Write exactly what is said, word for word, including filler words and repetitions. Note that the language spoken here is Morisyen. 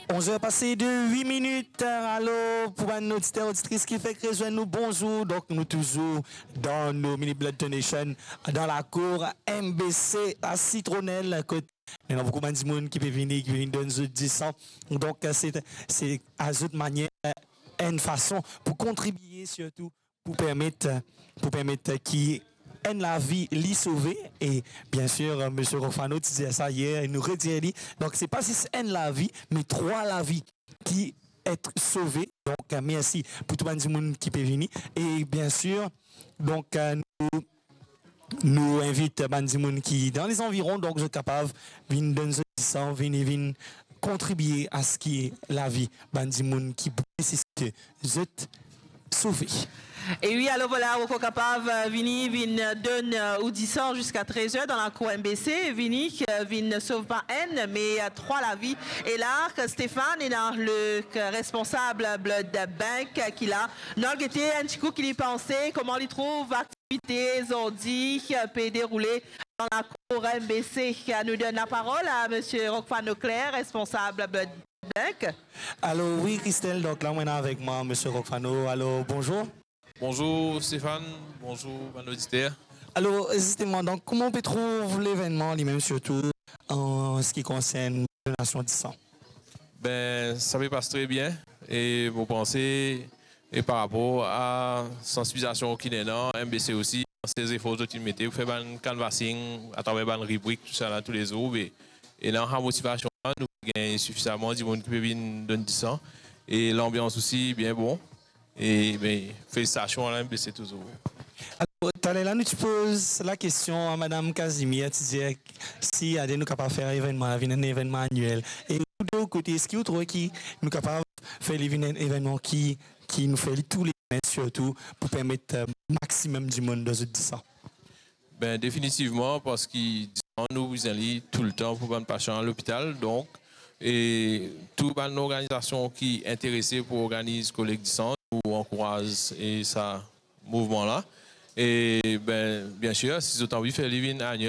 Onz er pase de wit minit. Alor, pou bann oditer, oditris ki fek rezwenn nou, bonzour. Donk, nou touzour dan nou mini blood donation, dan lakour M B C, la Citronelle, kot ena boukou bann dimoun ki pe vini, ki pe vinn donn zot disan. Donk, se, se a zot manier, enn fason pou kontribie sirtou pou permet, pou permet ki enn lavi li sove. E biensir, Misie Rockfano ti dir sa yer, e nou redir li. Donk, se pa zis enn lavi, me trwa lavi ki et sove. Donk, mersi pou tou bann dimoun ki pe vini. E biensir, donk, nou, nou invit bann dimoun ki dan lezanviron, donk zot kapav vinn donn zot disan, vini, vinn kontribie a se ki lavi bann dimoun ki pou nesesite zot sove. E wi, alor vwala, ou ankor kapav, eh, vini, vinn donn, eh, ou disan ziska trez er dan lakour M B C, vini, eh, vinn sov pa enn, me, eh, trwa lavi. E la, Stéphane, ena le, eh, responsab Blood Bank, eh, ki la. Nou al gete enn ti kou ki li panse, kouma li trouv aktivite zordi, eh, pe deroule dan lakour M B C. Nou donn laparol a Misie Rockfano Claire, responsab Blood Bank. Alor wi, Christelle, donk la, mo ena avek mwa Misie Rockfano. Alor, bonzour. Bonzour, Stéphane. Bonzour, bann oditer. Alor, zisteman, donk, kouma ou pe trouv levennman limem, sirtou an se ki konsern donasion disan? Be, sa pe pas tre bien. E mo panse, e par rapor a sansibilizasion ki ena, M B C osi, se zefor zot inn mete pou fer bann canvassing atraver bann ribrik, tousala, toulezour, be, ena sa motivasion la, nou gagn sifizaman dimoun ki pe vinn donn disan, e lanbians osi bien bon. E, be, felisitasion a la M B C touzour. Alor, taler la, nou ti poz lakestion a Madam Casimir, ti dir si ade nou kapav fer evennman la vinn enn evennman aniel. E ou, de ou kote, eski ou trouve ki nou kapav fer li vinn enn evennman ki, ki nou fer li toulezour, sirtou pou permet, eh, maximum dimoun donn zot disan? Be, definitivman, parski disan nou bizin li toultan pou bann pasian lopital. Donk, e tou bann lorganizasion ki interese pou organiz kolek disan, nou ankouraz e sa mouvman la. E, be, biensir, si zot anvi fer li vinn aniel,